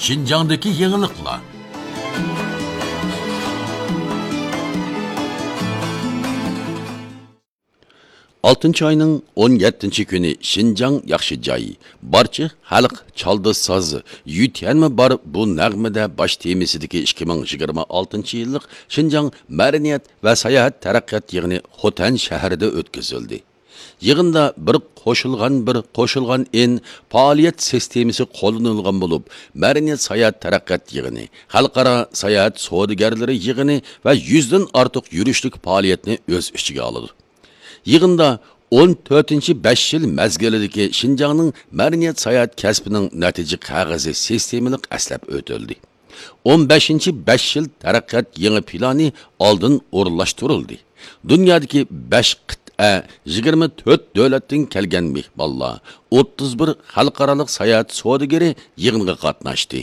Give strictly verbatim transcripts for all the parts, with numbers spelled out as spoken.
شىنجاڭدىكى يېڭىلىقلار. ئالتىنچى ئاينىڭ ئون يەتتىنچى كۈنى شىنجاڭ ياخشى جاي، بارچە خەلق چالدى ساز، يۈتيەنمۇ بار بۇ نەغمىدە باش تېمىسىدىكى ئىككى مىڭ يىگىرمە ئالتىنچى يىللىق شىنجاڭ مەدەنىيەت ۋە ساياھەت تەرەققىيات يىغىنى خوتەن شەھىرىدە ئۆتكۈزۈلدى. يىغىندا بىر قوشۇلغان، بىر قوشۇلغان ئىن پائالىيەت سىستېمىسى قوللىنىلغان بولۇپ، مەدەنىيەت ساياھەت تەرەققىيات يىغىنى، خەلقئارا ساياھەت سودىگەرلىرى يىغىنى ۋە يۈزدىن ئارتۇق يۈرۈشلۈك پائالىيەتنى ئۆز ئىچىگە ئالىدۇ. يىغىندا ئون تۆتىنچى بەش يىل مەزگىلىدىكى شىنجاڭنىڭ مەدەنىيەت ساياھەت كەسپىنىڭ نەتىجە قەغىزى سىستېمىلىق ئەسلەپ ئۆتۈلدى. ئون بەشىنچى بەش يىل تەرەققىيات يېڭى پىلانى ئالدىن ئورۇنلاشتۇرۇلدى. دۇنيادىكى بەش قىتئە، يىگىرمە تۆت دۆلەتتىن كەلگەن مېھمانلار، ئوتتۇز بىر خەلقئارالىق ساياھەت سودىگىرى يىغىنغا قاتناشتى.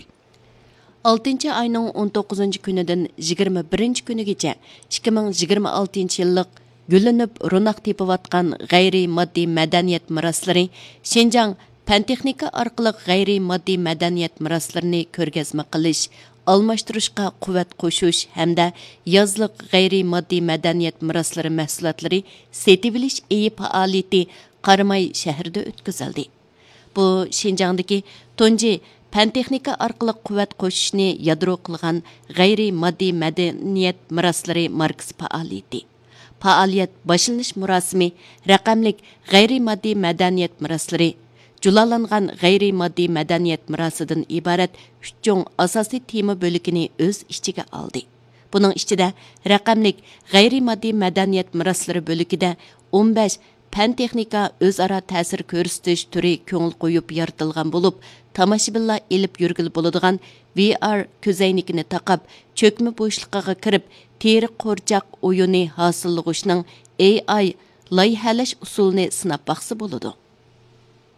ئالتىنچى ئاينىڭ ئون توققۇزىنچى كۈنىدىن يىگىرمە بىرىنچى كۈنىگىچە ئىككى مىڭ يىگىرمە ئالتىنچى يىللىق گۈللىنىپ روناق تېپىۋاتقان غەيرىي ماددىي مەدەنىيەت مىراسلىرى شىنجاڭ پەن تېخنىكا ئارقىلىق غەيرىي ماددىي مەدەنىيەت مىراسلىرىنى كۆرگەزمە قىلىش، ئالماشتۇرۇشقا قۇۋۋەت قوشۇش ھەمدە يازلىق غەيرىي ماددىي مەدەنىيەت مىراسلىرى مەھسۇلاتلىرى سېتىۋېلىش ئېيى پائالىيىتى قاراماي شەھىرىدە ئۆتكۈزۈلدى. بۇ شىنجاڭدىكى تۇنجى پەن تېخنىكا ئارقىلىق قۇۋۋەت قوشۇشنى يادرو قىلغان غەيرىي ماددىي مەدەنىيەت مىراسلىرى ماركىسى پائالىيىتى. پائالىيەت باشلىنىش مۇراسىمى رەقەملىك غەيرىي ماددىي مەدەنىيەت مىراسلىرى، جۇلالانغان غەيرىي ماددىي مەدەنىيەت مىراسىدىن ئىبارەت ئۈچ چوڭ ئاساسىي تېما بۆلىكىنى ئۆز ئىچىگە ئالدى. بۇنىڭ ئىچىدە رەقەملىك غەيرىي ماددىي مەدەنىيەت مىراسلىرى بۆلىكىدە ئون بەش پەن تېخنىكا ئۆزئارا تەسىر كۆرسىتىش تۈرى كۆڭۈل قويۇپ يارىتىلغان بولۇپ، تاماشىبىنلار ئېلىپ يۈرگىلى بولىدىغان ۋى ئار كۆزەينىكىنى تاقاپ، چۆكمە بوشلۇقىغا كىرىپ، تېرە قورچاق ئويۇنى ھاسىللىغۇچنىڭ ئېي ئاي لايىھەلەش ئۇسۇلىنى سىناپ باقسا بولىدۇ.